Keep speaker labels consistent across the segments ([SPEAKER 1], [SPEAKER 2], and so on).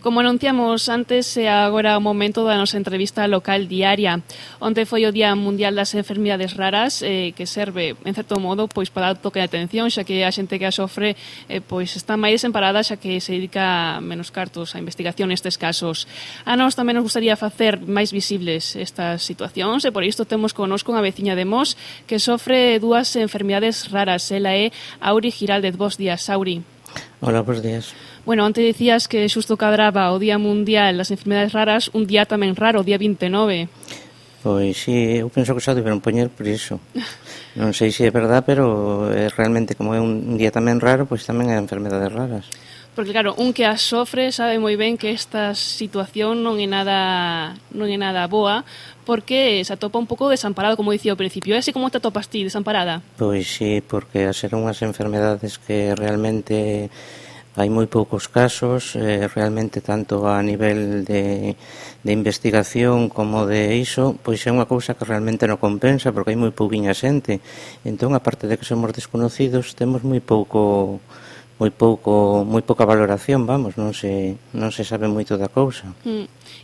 [SPEAKER 1] Como anunciamos antes, é agora o momento da nosa entrevista local diaria. Onte foi o Día Mundial das Enfermidades Raras, que serve, en certo modo, pois para dar toque de atención, xa que a xente que a sofre pois está máis desamparada, xa que se dedica menos cartos á investigación nestes casos. A nós tamén nos gustaría facer máis visibles estas situacións, e por isto temos connosco unha veciña de Mos que sofre dúas enfermidades raras. Ela é Auri Giraldez. Bos días, Auri.
[SPEAKER 2] Hola, bos días.
[SPEAKER 1] Bueno, antes dicías que xusto cadraba o Día Mundial das Enfermedades Raras, un día tamén raro, o día 29.
[SPEAKER 2] Pois sí, eu penso que xa deberon poñer por iso. Non sei se é verdad, pero realmente como é un día tamén raro, pois tamén é enfermedades raras.
[SPEAKER 1] Porque claro, un que as sofre sabe moi ben que esta situación non é nada boa, porque se atopa un pouco desamparado, como dicía ao principio. É así como te atopas ti, desamparada?
[SPEAKER 2] Pois sí, porque a ser unhas enfermedades que realmente hai moi poucos casos, realmente tanto a nivel de investigación como de iso, pois é unha cousa que realmente non compensa, porque hai moi pouquiña xente. Entón, aparte de que somos desconocidos, temos moi pouca valoración, vamos, non se sabe moito da cousa.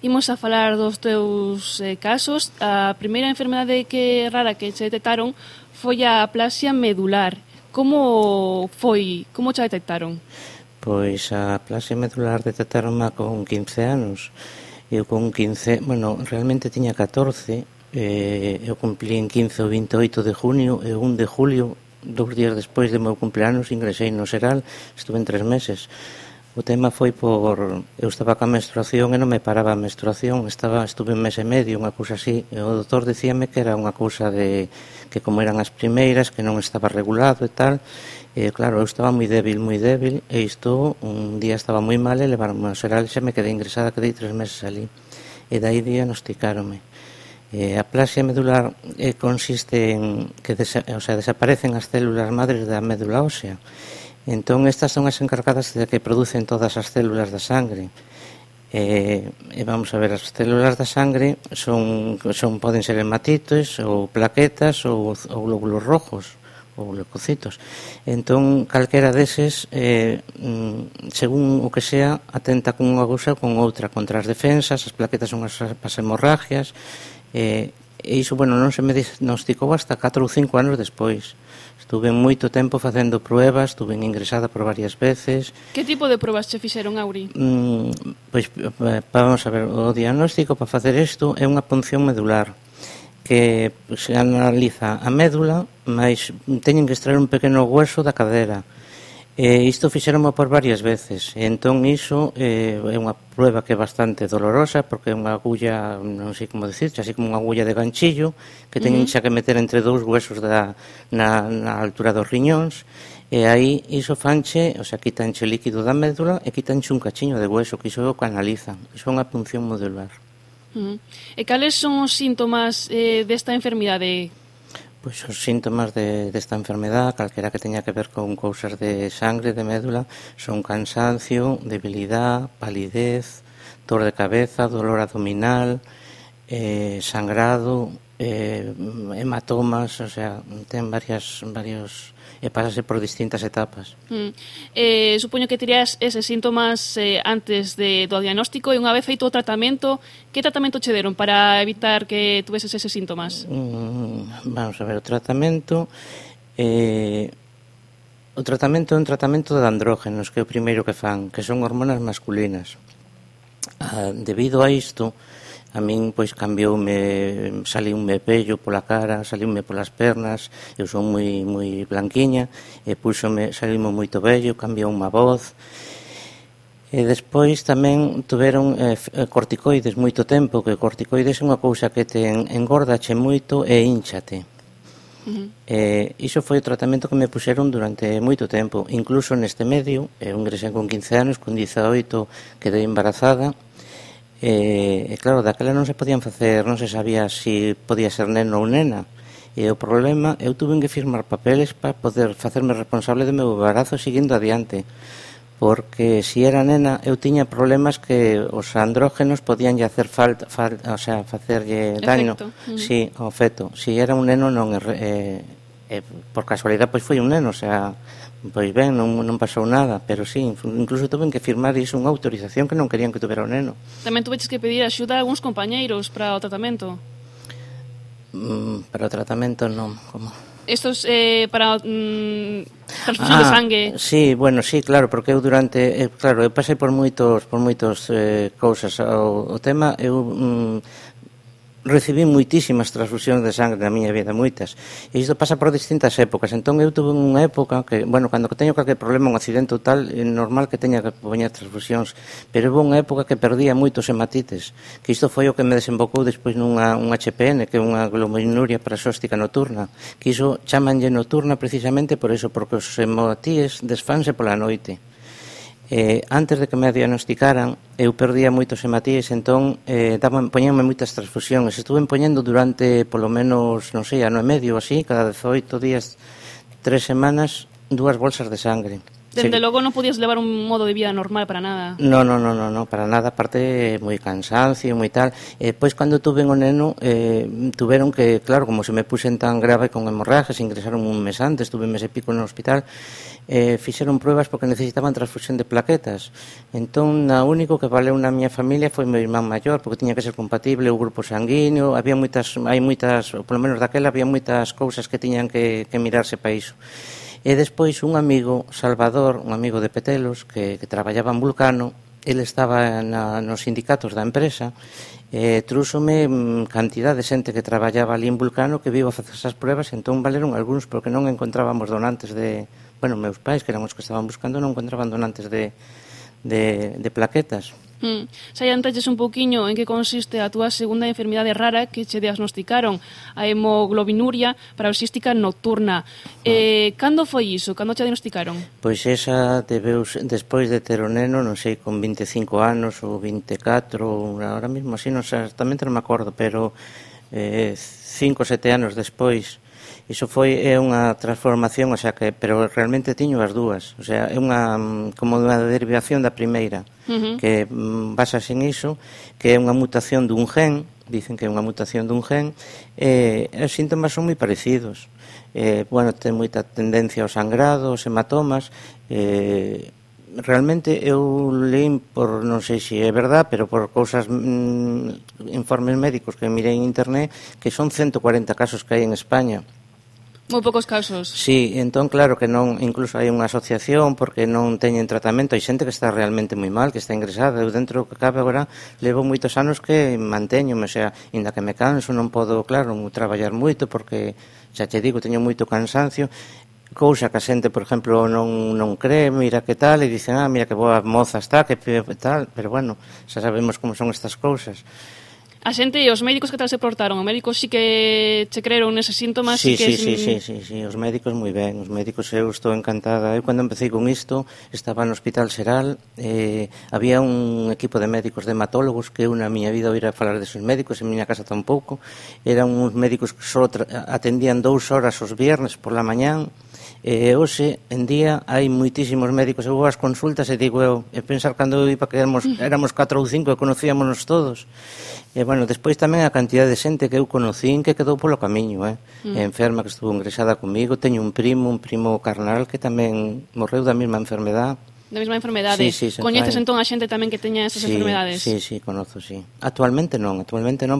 [SPEAKER 1] Imos a falar dos teus casos. A primeira enfermedade rara que se detectaron foi a aplasia medular. Como foi? Como te detectaron?
[SPEAKER 2] Pois a aplasia medular detectaronma con 15 anos. Eu con 15, realmente tiña 14, eu cumplí en 15 o 28 de junio e o 1 de julio, 2 días despois do meu cumpleanos, ingresei no Seral, estuve en 3 meses. O tema foi eu estaba ca menstruación e non me paraba a menstruación, estuve un mes e medio, unha cousa así, e o doutor dicíame que era unha cousa que como eran as primeiras, que non estaba regulado e tal, e claro, eu estaba moi débil, e isto, un día estaba moi mal e levaronme ao Seral e xa me quedei ingresada, quedei 3 meses ali, e dai diagnosticáronme. A aplasia medular consiste en que desaparecen as células madres da médula ósea. Entón, estas son as encargadas de que producen todas as células da sangre. Vamos a ver, as células da sangre poden ser hematites ou plaquetas ou glóbulos rojos ou leucocitos. Entón, calquera deses, según o que sea, atenta con unha cousa ou con outra, contra as defensas. As plaquetas son as hemorragias, e iso, non se me diagnosticou hasta 4 ou 5 anos despois. Estuve moito tempo facendo pruebas, estuve ingresada por varias veces.
[SPEAKER 1] Que tipo de pruebas che fixeron, Auri?
[SPEAKER 2] Pois, vamos a ver, o diagnóstico para facer isto é unha punción medular, que se analiza a médula, mas teñen que extraer un pequeno hueso da cadera. Isto fixéronmo por varias veces, e entón iso é unha prueba que é bastante dolorosa, porque é unha agulla, non sei como dicir, así como unha agulla de ganchillo, que teñen xa que meter entre dous huesos na altura dos riñóns, e aí iso fanche, quitanche o líquido da médula e quitanche un cachiño de hueso, que iso é o que analizan. Iso é unha punción medular.
[SPEAKER 1] E cales son os síntomas desta enfermidade?
[SPEAKER 2] Pois os síntomas desta enfermedade, calquera que teña que ver con cousas de sangre, de médula, son cansancio, debilidade, palidez, dor de cabeza, dolor abdominal, sangrado, hematomas, ten varios, e pásase por distintas etapas.
[SPEAKER 1] Supoño que terías eses síntomas antes do diagnóstico, e unha vez feito o tratamento, que tratamento che deron para evitar que tuveses eses síntomas?
[SPEAKER 2] Vamos a ver, o tratamento é un tratamento de andrógenos, que é o primeiro que fan, que son hormonas masculinas. Debido a isto, a min, pois, saliume vello pola cara, saliume polas pernas, eu son moi blanquiña, e saliume moito vello, cambioume a voz, e despois tamén tuveron corticoides moito tempo, que corticoides é unha cousa que te engordache moito e hinchate. Iso foi o tratamento que me puxeron durante moito tempo, incluso neste medio, eu ingresei con 15 anos, con 18 quedei embarazada. E claro, daquela non se podían facer, non se sabía se podía ser neno ou nena, e o problema, eu tuve que firmar papeles para poder facerme responsable do meu embarazo seguindo adiante, porque se era nena eu tiña problemas que os andrógenos podían lle hacer falta, facerlle daño, si, ao feto. Se era un neno non, por casualidade pois foi un neno, Pois ben, non pasou nada, pero sí, incluso tuve que firmar iso unha autorización que non querían que tuvera o neno.
[SPEAKER 1] Tamén tuveches que pedir axuda a algúns compañeiros para o tratamento.
[SPEAKER 2] Para o tratamento non, como...
[SPEAKER 1] Estos para transfusión de sangue.
[SPEAKER 2] Sí, bueno, sí, claro, porque eu durante, claro, eu pasei por moitos cousas. O tema, eu recibí moitísimas transfusións de sangue na miña vida, moitas. E isto pasa por distintas épocas. Entón eu tuve unha época que, bueno, cando teño calquer problema, un accidente ou tal, é normal que teña que poñer transfusións, pero houve unha época que perdía moitos hematites, que isto foi o que me desembocou despois nunha HPN, que é unha glomerulonuria parasóstica nocturna, que iso chamanlle nocturna precisamente por eso, porque os hematíes desfanse pola noite. Antes de que me diagnosticaran, eu perdía moitos hematíes, entón poñenme moitas transfusións. Estuve poñendo durante, polo menos, non sei, ano e medio, así, cada 18 días, 3 semanas, 2 bolsas de sangre.
[SPEAKER 1] Dende logo non podías levar un modo de vida normal para nada.
[SPEAKER 2] No, para nada, aparte moi cansancio, moi tal. Pois cando tuve o neno, tuveron que, claro, como se me puxen tan grave con hemorragias, ingresaron un mes antes, tuve un mes e pico no hospital, fixeron pruebas porque necesitaban transfusión de plaquetas. Entón, o único que valeu na miña familia foi meu irmán maior, porque tiña que ser compatible o grupo sanguíneo, hai moitas, polo menos daquela, había moitas cousas que tiñan que mirarse para iso. E despois un amigo, Salvador, un amigo de Petelos, que traballaba en Vulcano, ele estaba nos sindicatos da empresa, trúxome cantidad de xente que traballaba ali en Vulcano que vivo a facer esas pruebas, entón valeron algúns porque non encontrábamos donantes de... Bueno, meus pais, que eran os que estaban buscando, non encontraban donantes de plaquetas.
[SPEAKER 1] Saiantaches un pouquiño en que consiste a túa segunda enfermidade rara que che diagnosticaron, a hemoglobinuria parasística nocturna. Cando foi iso? Cando te diagnosticaron?
[SPEAKER 2] Pois esa debeus despois de ter o neno, non sei, con 25 anos ou 24, ahora mesmo así, non sei, exactamente non me acordo, pero 5 ou 7 anos despois. Iso foi unha transformación, o sea que, pero realmente tiño as dúas, o sea, é como unha derivación da primeira, que basase en iso, que é unha mutación dun gen, dicen que é unha mutación dun gen, e os síntomas son moi parecidos. Bueno, ten moita tendencia ao sangrado, aos hematomas, realmente eu leí por, non sei se é verdad, pero por cousas, informes médicos que mirei en internet, que son 140 casos que hai en España.
[SPEAKER 1] Moi poucos casos.
[SPEAKER 2] Sí, entón claro que non, incluso hai unha asociación porque non teñen tratamento, hai xente que está realmente moi mal, que está ingresada. Eu dentro que cabe agora levo moitos anos que manteñome, o sea, inda que me canso, non podo, claro, traballar moito porque, xa te digo, teño moito cansancio, cousa que a xente, por exemplo, non cree, mira que tal, e dicen, mira que boa moza está, que tal, pero bueno, xa sabemos como son estas cousas.
[SPEAKER 1] A xente e os médicos que tal se portaron? Os médicos sí que che creeron neses síntomas?
[SPEAKER 2] Sí, os médicos moi ben, os médicos eu estou encantada. Eu cando empecé con isto estaba no Hospital Xeral, había un equipo de médicos de hematólogos que eu na miña vida oíra falar deses médicos, en miña casa tampouco. Eran uns médicos que só atendían 2 horas os viernes por la mañán. Hoxe en día hai moitísimos médicos. Eu vou ás consultas e digo eu, pensar cando eu iba que éramos 4 ou 5 e conocíamonos todos. E bueno, despois tamén a cantidade de xente que eu conocín que quedou polo camiño, enferma que estuvo ingresada comigo. Teño un primo carnal que tamén morreu da mesma enfermedade.
[SPEAKER 1] Da mesma enfermedade?
[SPEAKER 2] Sí,
[SPEAKER 1] Coñeces entón a xente tamén que teña esas enfermedades?
[SPEAKER 2] Sí, conozo, sí. Actualmente non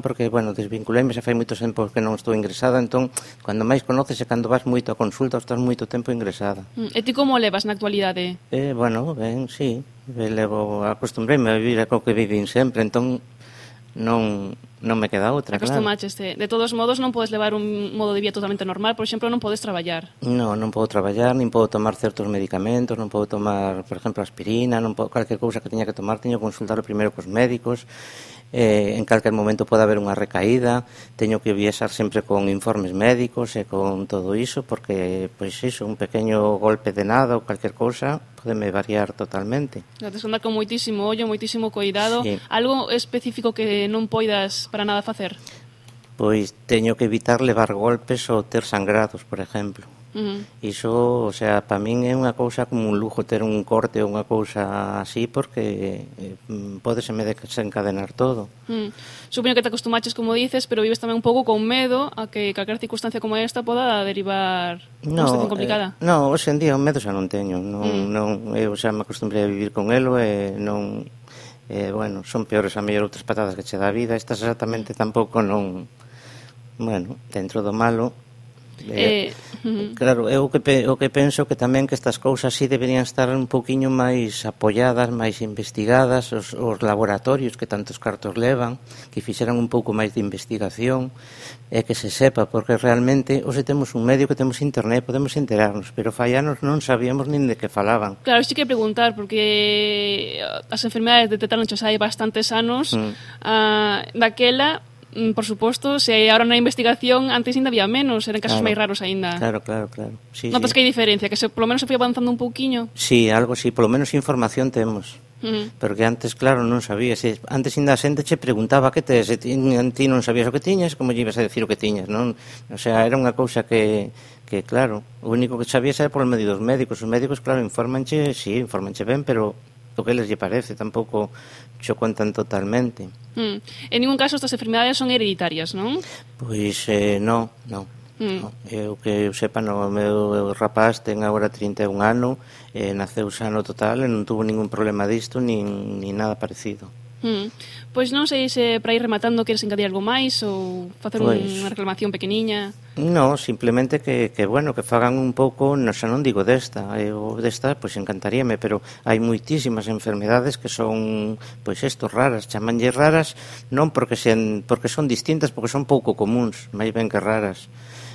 [SPEAKER 2] porque, bueno, desvinculeime, xa fai moitos tempos que non estou ingresada, entón, cando máis conoces é cando vas moito a consulta ou estás moito tempo ingresada.
[SPEAKER 1] E ti como levas na actualidade?
[SPEAKER 2] Bueno, ben, sí, acostumbreime a vivir co que vivin sempre, entón non me queda outra, claro.
[SPEAKER 1] Acostumaste. De todos modos, non podes levar un modo de vida totalmente normal, por exemplo, non podes traballar.
[SPEAKER 2] Non podo traballar, nin podo tomar certos medicamentos, non podo tomar, por exemplo, aspirina, non podo, calquer cousa que teña que tomar, teño que consultar primeiro cos médicos, en calquer momento pode haber unha recaída, teño que viaxar sempre con informes médicos e con todo iso, porque, pois iso, un pequeno golpe de nada ou calquer cousa podeme variar totalmente.
[SPEAKER 1] Tens que andar con moitísimo ollo, moitísimo cuidado.
[SPEAKER 2] Sí.
[SPEAKER 1] Algo específico que non poidas para nada facer?
[SPEAKER 2] Pois teño que evitar levar golpes ou ter sangrados, por exemplo. Iso, o sea, para min é unha cousa como un lujo ter un corte ou unha cousa así, porque pódeseme desencadenar todo.
[SPEAKER 1] Supoño que te acostumaches, como dices, pero vives tamén un pouco con medo a que calquera circunstancia como esta poda derivar unha situación complicada.
[SPEAKER 2] Non, hoxe en día o medo xa non teño, eu xa me acostumbrei a vivir con elo e non... bueno, son peores a mellor outras patadas que che dá a vida, estas exactamente tampouco non... Bueno, dentro do malo... Claro, eu o que penso que tamén que estas cousas así deberían estar un poquinho máis apoiadas, máis investigadas, os laboratorios que tantos cartos levan, que fixeran un pouco máis de investigación e que se sepa, porque realmente hoxe temos un medio que temos internet, podemos enterarnos, pero fai anos non sabíamos nin de que falaban.
[SPEAKER 1] Claro, isto que preguntar, porque as enfermedades detectáronse hai bastantes anos, daquela... Por suposto, se agora na investigación antes ainda había menos, eran casos máis raros ainda.
[SPEAKER 2] Claro. Sí,
[SPEAKER 1] notas que hai diferencia, que se polo menos se foi avanzando un pouquiño.
[SPEAKER 2] Sí, algo así, polo menos información temos. Porque antes, claro, non sabías. Antes ainda a xente che preguntaba que tes, e ti non sabías o que tiñas, como lle ibas a decir o que tiñas, non? O sea, era unha cousa que claro, o único que sabías era por medio dos médicos. Os médicos, claro, informanche ben, pero o que les lle parece, tampouco xo contan totalmente.
[SPEAKER 1] En ningún caso estas enfermedades son hereditarias, non?
[SPEAKER 2] Pois non. Eu que eu sepa, o meu rapaz ten agora 31 anos, naceu sano total e non tuvo ningún problema disto, nin nada parecido.
[SPEAKER 1] Pois non sei se para ir rematando queres engadir algo máis ou facer unha reclamación pequeniña.
[SPEAKER 2] Non, simplemente que bueno, que fagan un pouco, xa non digo desta, pois encantaríame, pero hai moitísimas enfermedades que son, pois raras, chamanlle raras, non porque son distintas, porque son pouco comuns, máis ben que raras.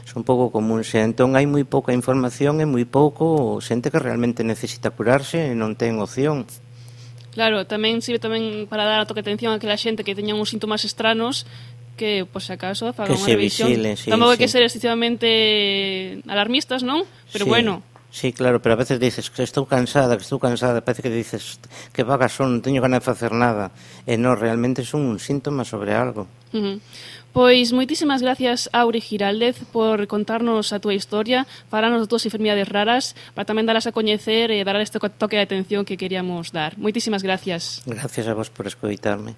[SPEAKER 2] Son pouco comuns, e entón hai moi pouca información e moi pouco xente que realmente necesita curarse e non ten opción.
[SPEAKER 1] Claro, tamén sirve tamén para dar a toque atención a aquela xente que teñan uns síntomas estranos que, por se acaso, fagan unha revisión. Tampouco hai que ser excesivamente alarmistas, non? Pero bueno.
[SPEAKER 2] Sí, claro, pero a veces dices que estou cansada, parece que dices que vaga son, non teño ganas de facer nada. E non, realmente son un síntoma sobre algo.
[SPEAKER 1] Pois moitísimas gracias, Auri Giraldez, por contarnos a túa historia, falarnos das túas enfermidades raras, para tamén dalas a coñecer e dar este toque de atención que queríamos dar. Moitísimas gracias.
[SPEAKER 2] Gracias a vos por escoitarme.